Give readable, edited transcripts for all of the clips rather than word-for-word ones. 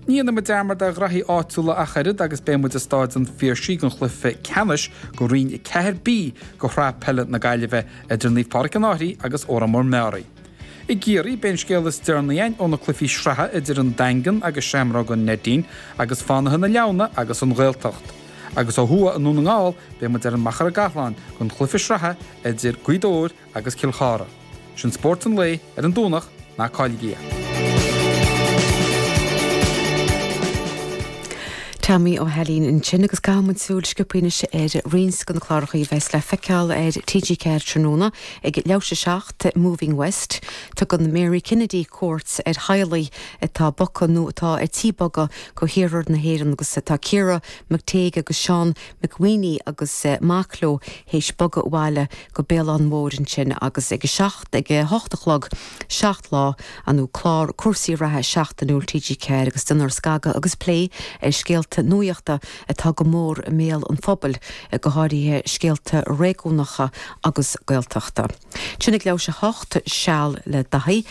Ní dhéanfaidh muid dearmad ar ghraithí áitiúla ach oiread agus beidh muid i Stáid an Phiarsaigh don chluiche ceannais do Roinn 4B de Shraith Peile na Gaillimhe idir Naomh Pádraig an Fhairche agus Órán Mór Meáraí. I gCiarraí, beidh an scéal is deireanaí againn ó na cluichí sraithe idir an Daingean agus Seamróga Neidín agus Fánaithe na Leamhna agus an Ghaeltacht. Agus ó thuaidh i nDún na nGall, beidh muid ar an Machaire Gathlán don chluiche sraithe idir Gaoth Dobhair agus Cill Chartha. Sin spórt an lae ar an Domhnach, ná cailligí é. Tommy Ó hAilín ansin agus caithfidh muid súil sciobtha anois ar roinnt de na cláracha a bheas le feiceáil ar TG4 tráthnóna ag leathuair tar éis a 7, Moving West. Tugann Mary Kennedy cuairt ar theaghlaigh atá bogtha nó atá ar tí bogadh go hiarthar na hÉireann agus tá Ciara McTague agus Seán McWeeney agus mac leo théis bogadh abhaile go Béal Átha'n Mhóir ansin agus ag a 7, ag a hocht a chlog, 7 Lá, nó clár cúrsaí reatha seachtainiúil TG4 agus déanfar scagadh agus plé ar scéalta nuachta atá go mór i mbéal an phobail, go háirithe scéalta réigiúnacha agus Gaeltachta. Ansin ag leathuair tar éis a hocht, Seal le Daithí,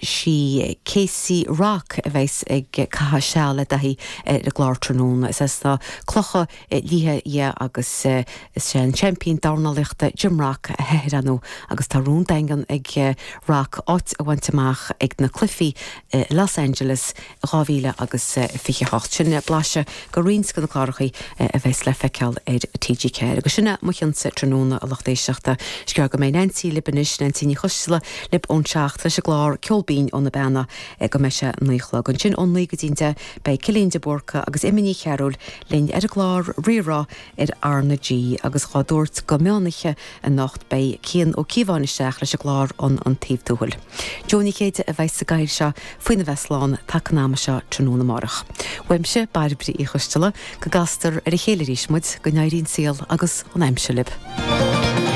sí Casey Rock a bheas ag caitheamh seal le Daithí ar an gclár tráthnóna. Is as na Clocha Liatha di agus is é an seaimpín dornálaíochta Jim Rock a hathair ar ndóigh agus tá rún daingean ag Rock áit a bhaint amach ag na cluichí i Los Angeles 2000 agus 28. Sin blaiseadh de roinnt de na clárachaí a bheas le feiceáil ar TG4. Agus sin é mo chionsa tráthnóna a lucht éisteachta. Is gearr go mbeidh Neansaí libh anois, Neansaí Ní Choisdealbha libh ón 7 leis an gclár Ceol Binn ó na Beanna go mbeidh sé 9 a chlog. Ansin ón 9 go dtí an 10 beidh Cillian de Búrca agus Emma Ní Chearúil linn ar an gclár Rí-Rá ar R na G agus dhá dtabhairt go meánoíche anocht beidh Cian Ó Cíobháin isteach leis an gclár An An Taobh Tuathail. Joe Ní Chéide a bheidh sa gcathaoir seo faoina bheith slán taca an ama seo tráthnóna amárach. Uaimse, Bairbre Uí Choisteala, go gcastar ar a chéile arís muid, go n-éirí an saol agus an aimsir libh.